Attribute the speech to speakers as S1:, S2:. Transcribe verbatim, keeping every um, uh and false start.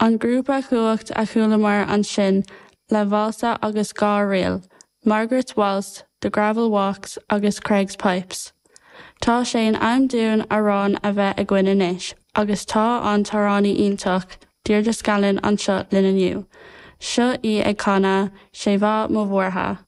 S1: An grúpa Cumhacht a chualamar ansin le válsa agus dhá ríl, Margaret's Waltz, The Gravel Walks agus Creggs Pipes. Tá sé in am dúinn amhrán a bheith againn anois, agus tá an t-amhránaí iontach Deirdre Scanlon anseo linn inniu. Seo í ag canadh sé mhaith mo bhuartha.